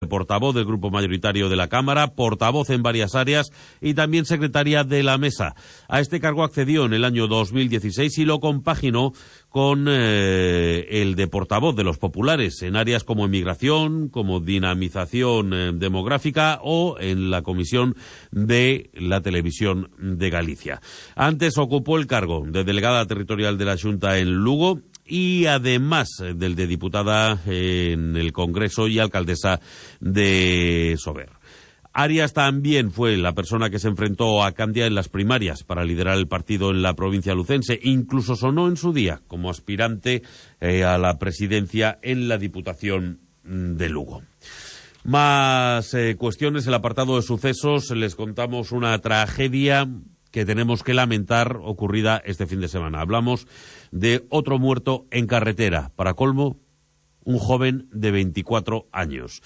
portavoz del grupo mayoritario de la Cámara, portavoz en varias áreas y también secretaria de la mesa. A este cargo accedió en el año 2016 y lo compaginó con el de portavoz de los populares en áreas como emigración, como dinamización demográfica o en la Comisión de la Televisión de Galicia. Antes ocupó el cargo de delegada territorial de la Xunta en Lugo y además del de diputada en el Congreso y alcaldesa de Sober. Arias también fue la persona que se enfrentó a Candia en las primarias para liderar el partido en la provincia lucense. Incluso sonó en su día como aspirante a la presidencia en la Diputación de Lugo. Más cuestiones, el apartado de sucesos. Les contamos una tragedia que tenemos que lamentar ocurrida este fin de semana. Hablamos de otro muerto en carretera. Para colmo, un joven de 24 años.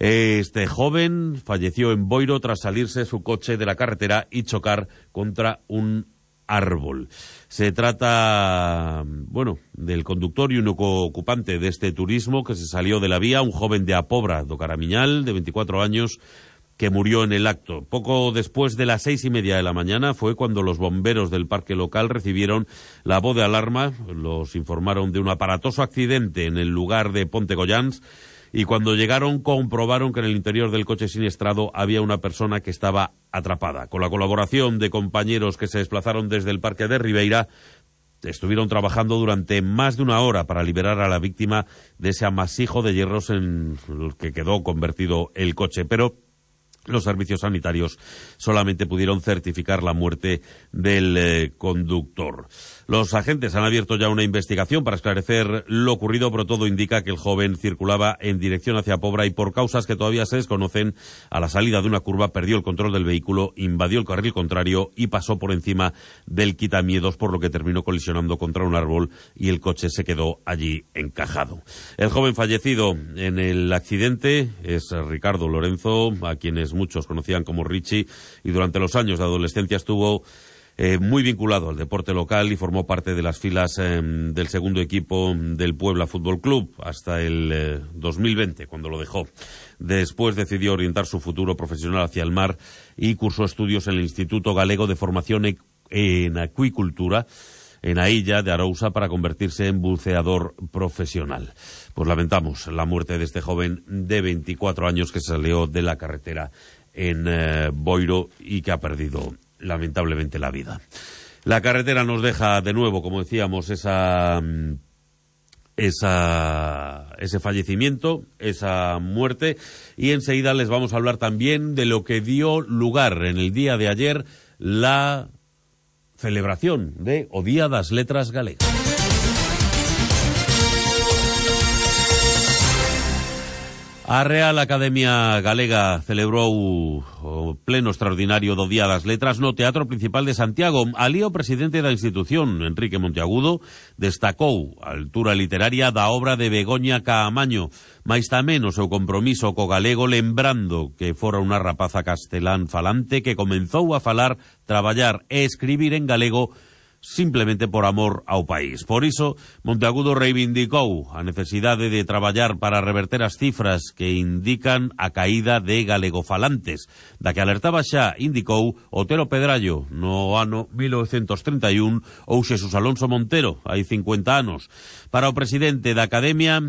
Este joven falleció en Boiro tras salirse su coche de la carretera y chocar contra un árbol. Se trata, del conductor y único ocupante de este turismo que se salió de la vía, un joven de Apobra do Caramiñal, de 24 años, que murió en el acto. Poco después de las 6:30 de la mañana fue cuando los bomberos del parque local recibieron la voz de alarma. Los informaron de un aparatoso accidente en el lugar de Pontegollans. Y cuando llegaron comprobaron que en el interior del coche siniestrado había una persona que estaba atrapada. Con la colaboración de compañeros que se desplazaron desde el parque de Ribeira, estuvieron trabajando durante más de una hora para liberar a la víctima de ese amasijo de hierros en el que quedó convertido el coche. Pero los servicios sanitarios solamente pudieron certificar la muerte del conductor. Los agentes han abierto ya una investigación para esclarecer lo ocurrido, pero todo indica que el joven circulaba en dirección hacia Pobra y por causas que todavía se desconocen, a la salida de una curva perdió el control del vehículo, invadió el carril contrario y pasó por encima del quitamiedos, por lo que terminó colisionando contra un árbol y el coche se quedó allí encajado. El joven fallecido en el accidente es Ricardo Lorenzo, a quienes muchos conocían como Richie, y durante los años de adolescencia estuvo muy vinculado al deporte local y formó parte de las filas del segundo equipo del Puebla Fútbol Club hasta el 2020, cuando lo dejó. Después decidió orientar su futuro profesional hacia el mar y cursó estudios en el Instituto Galego de Formación en Acuicultura, en Ailla de Arousa, para convertirse en buceador profesional. Pues lamentamos la muerte de este joven de 24 años que salió de la carretera en Boiro y que ha perdido lamentablemente la vida. La carretera nos deja de nuevo, como decíamos, ese fallecimiento, esa muerte, y enseguida les vamos a hablar también de lo que dio lugar en el día de ayer la celebración de o Día das Letras Galegas. A Real Academia Galega celebrou o pleno extraordinario do Día das Letras no Teatro Principal de Santiago. Alí o presidente da institución, Enrique Monteagudo, destacou a altura literaria da obra de Begoña Caamaño, mais tamén o seu compromiso co galego, lembrando que fora unha rapaza castelán falante que comenzou a falar, traballar e escribir en galego simplemente por amor ao país. Por iso, Monteagudo reivindicou a necesidade de traballar para reverter as cifras que indican a caída de galegofalantes, da que alertaba xa, indicou, Otero Pedrallo no ano 1931 ou Xesús Alonso Montero hai 50 anos. Para o presidente da Academia,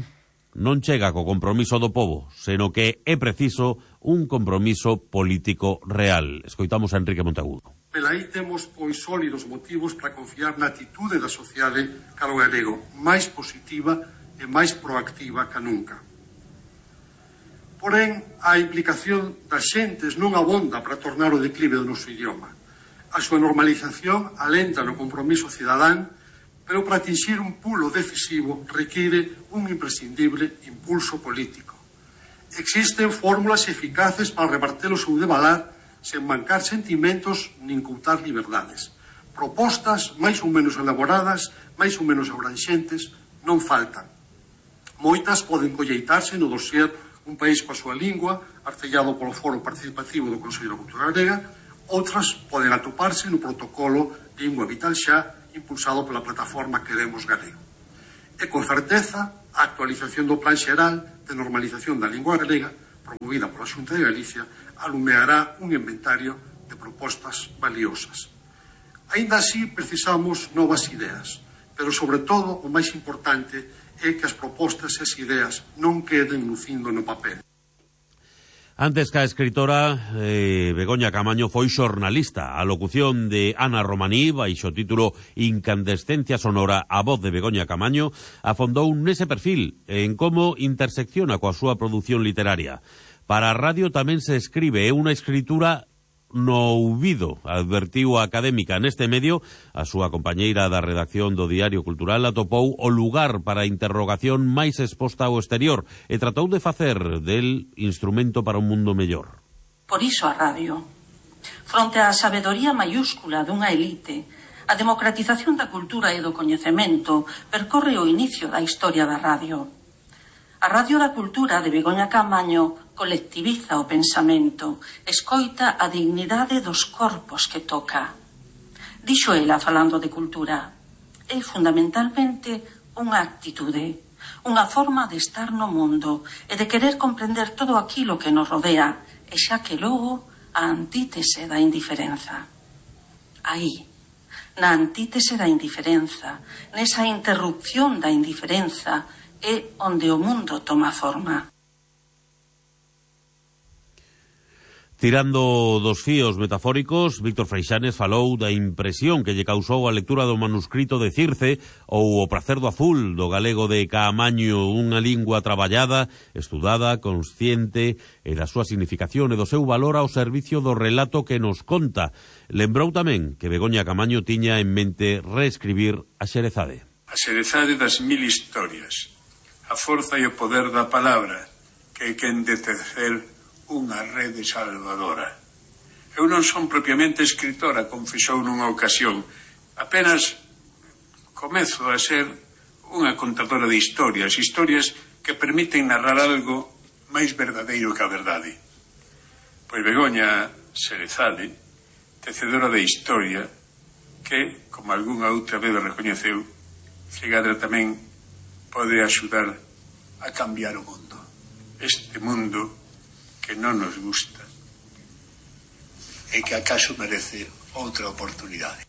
non chega co compromiso do pobo, seno que é preciso un compromiso político real. Escoitamos a Enrique Monteagudo. Velaí temos, pois, sólidos motivos para confiar na atitude da sociedade cara ao galego, máis positiva e máis proactiva que nunca. Porén, a implicación das xentes non abonda para tornar o declive do noso idioma. A súa normalización alenta no compromiso cidadán, pero para atingir un pulo decisivo require un imprescindible impulso político. Existen fórmulas eficaces para reverter o seu devalar sen mancar sentimentos nin coutar liberdades. Propostas máis ou menos elaboradas, máis ou menos abranxentes, non faltan. Moitas poden colleitarse no dossier Un país coa súa lingua, artellado polo Foro Participativo do Consello da Cultura Galega, outras poden atoparse no protocolo Lingua Vital Xa, impulsado pola plataforma Queremos Galego. E con certeza, a actualización do Plan Xeral de Normalización da Lingua Galega promovida pola Xunta de Galicia, alumeará un inventario de propostas valiosas. Aínda así, precisamos novas ideas, pero, sobre todo, o máis importante é que as propostas e as ideas non queden lucindo no papel. Antes que a escritora, Begoña Caamaño foi xornalista. A locución de Ana Romaní, baixo título Incandescencia sonora, a voz de Begoña Caamaño, afondou nese perfil, en como intersecciona coa súa produción literaria. Para a radio tamén se escribe, é unha escritura no ouvido, advertiu a académica. Neste medio, a súa compañeira da redacción do Diario Cultural atopou o lugar para a interrogación máis exposta ao exterior e tratou de facer del instrumento para un mundo mellor. Por iso a radio. Fronte á sabedoría maiúscula dunha elite, a democratización da cultura e do coñecemento percorre o inicio da historia da radio. A Radio da Cultura de Begoña Caamaño colectiviza o pensamento, escoita a dignidade dos corpos que toca. Dixo ela, falando de cultura, é fundamentalmente unha actitude, unha forma de estar no mundo e de querer comprender todo aquilo que nos rodea, e xa que logo a antítese da indiferenza. Aí, na antítese da indiferenza, nesa interrupción da indiferenza, é onde o mundo toma forma. Tirando dos fíos metafóricos, Víctor Freixanes falou da impresión que lle causou a lectura do manuscrito de Circe ou O pracer do azul do galego de Caamaño, unha lingua traballada, estudada, consciente e da súa significación e do seu valor ao servicio do relato que nos conta. Lembrou tamén que Begoña Caamaño tiña en mente reescribir a Xerezade. A Xerezade das mil historias, a forza e o poder da palabra, que é quen de tecer unha rede salvadora. Eu non son propiamente escritora, confesou nunha ocasión. Apenas comezo a ser unha contadora de historias que permiten narrar algo máis verdadeiro que a verdade. Pois Begoña Xerezade, tecedora de historia, que, como algunha outra vez recoñeceu, Xegadra tamén pode axudar a cambiar o mundo. Este mundo que non nos gusta e que acaso merece outra oportunidade.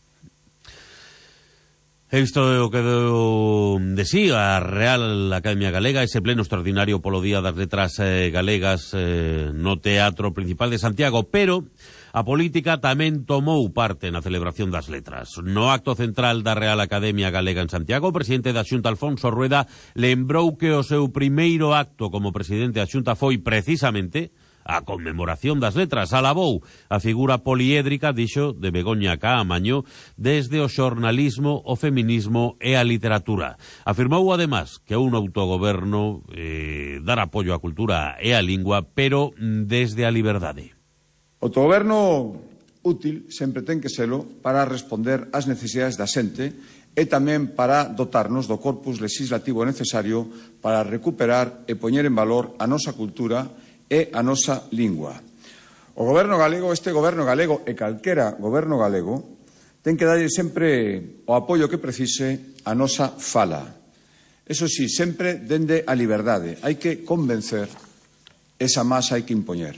Isto é o que deu de sí a Real Academia Galega, ese pleno extraordinario polo Día das Letras Galegas no Teatro Principal de Santiago, pero a política tamén tomou parte na celebración das letras. No acto central da Real Academia Galega en Santiago, o presidente da Xunta, Alfonso Rueda, lembrou que o seu primeiro acto como presidente da Xunta foi precisamente a conmemoración das letras. Alabou a figura poliédrica, dixo, de Begoña Caamaño desde o xornalismo, o feminismo e a literatura. Afirmou, además, que un autogoberno dar apoio á cultura e á lingua, pero desde a liberdade. O autogoberno útil sempre ten que selo para responder ás necesidades da xente e tamén para dotarnos do corpus legislativo necesario para recuperar e poñer en valor a nosa cultura e a nosa lingua. O goberno galego, este goberno galego e calquera goberno galego, ten que darlle sempre o apoio que precise a nosa fala. Eso sí, sempre dende a liberdade. Hai que convencer, esa masa hai que impoñer.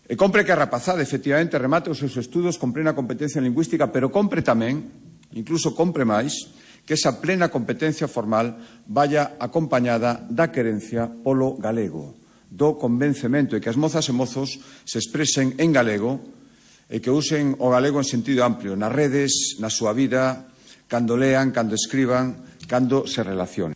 E compre que a rapazada, efectivamente, remate os seus estudos con plena competencia lingüística, pero compre tamén, incluso compre máis, que esa plena competencia formal vaya acompañada da querencia polo galego, do convencemento e que as mozas e mozos se expresen en galego e que usen o galego en sentido amplio, nas redes, na súa vida, cando lean, cando escriban, cando se relacionen.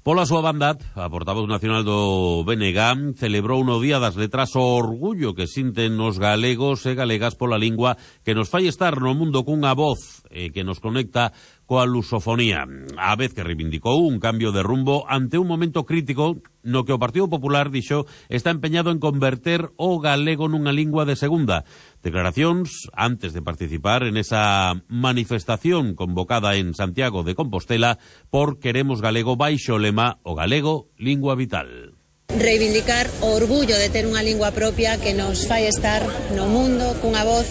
Pola súa banda, a portavoz nacional do BNG celebrou no Día das Letras o orgullo que sinten os galegos e galegas pola lingua que nos fai estar no mundo cunha voz que nos conecta coa lusofonía, a vez que reivindicou un cambio de rumbo ante un momento crítico no que o Partido Popular, dixo, está empeñado en converter o galego nunha lingua de segunda. Declaracións antes de participar en esa manifestación convocada en Santiago de Compostela por Queremos Galego baixo o lema O galego, lingua vital. Reivindicar o orgullo de ter unha lingua propia que nos fai estar no mundo cunha voz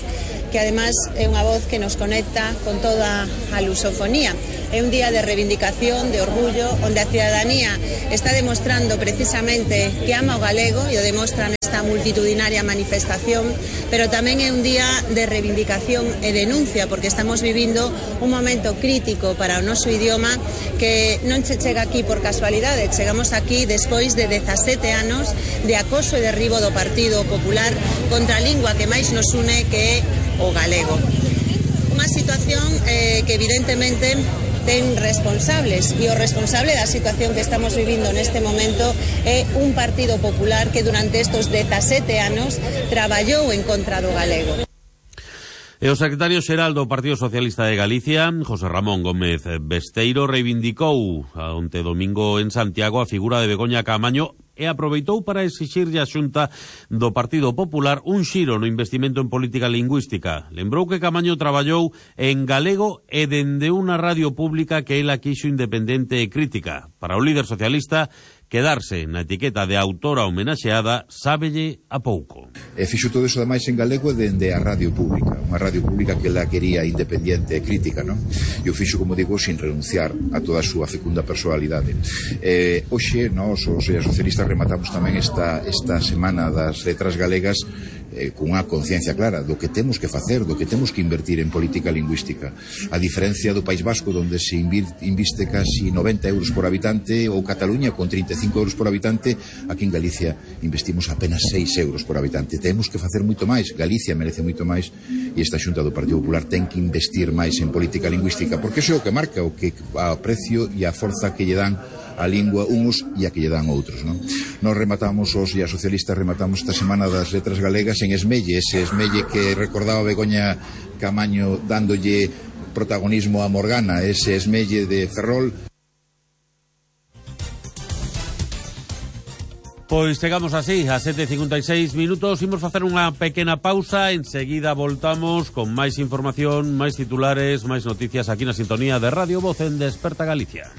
que además é unha voz que nos conecta con toda a lusofonía. é un día de reivindicación, de orgullo, onde a cidadanía está demostrando precisamente que ama o galego e o demostra nesta multitudinaria manifestación, pero tamén é un día de reivindicación e denuncia, porque estamos vivindo un momento crítico para o noso idioma que non se chega aquí por casualidade, chegamos aquí despois de 17 anos de acoso e derribo do Partido Popular contra a lingua que máis nos une, que é o galego. Unha situación que evidentemente ten responsables, e o responsable da situación que estamos vivindo neste momento é un Partido Popular que durante estes 17 anos traballou en contra do galego. E o secretario xeral do Partido Socialista de Galicia, José Ramón Gómez Besteiro, reivindicou onte domingo en Santiago a figura de Begoña Caamaño e aproveitou para exixirlle á Xunta do Partido Popular un xiro no investimento en política lingüística. Lembrou que Caamaño traballou en galego e dende unha radio pública que ela quixo independente e crítica. Para o líder socialista, quedarse na etiqueta de autora homenaxeada sábelle a pouco. Fixo todo iso ademais en galego dende a radio pública, unha radio pública que ela quería independiente e crítica, non? E o fixo, como digo, sin renunciar a toda a súa fecunda personalidade. Hoxe, nós, os socialistas, rematamos tamén esta semana das letras galegas cunha conciencia clara do que temos que facer, do que temos que invertir en política lingüística. A diferencia do País Vasco, onde se inviste casi 90 euros por habitante, ou Cataluña con 35 euros por habitante, aquí en Galicia investimos apenas 6 euros por habitante. Temos que facer moito máis, Galicia merece moito máis, e esta Xunta do Partido Popular ten que investir máis en política lingüística, porque iso é o que marca o precio e a forza que lle dan a lingua uns e a que lle dan outros, non? Nos rematamos, os e a socialistas rematamos esta semana das letras galegas en Esmelle, ese Esmelle que recordaba Begoña Caamaño dándolle protagonismo a Morgana, ese Esmelle de Ferrol. Pois chegamos así, a 7:56 minutos, imos facer unha pequena pausa, enseguida voltamos con máis información, máis titulares, máis noticias aquí na sintonía de Radio Voz en Desperta Galicia.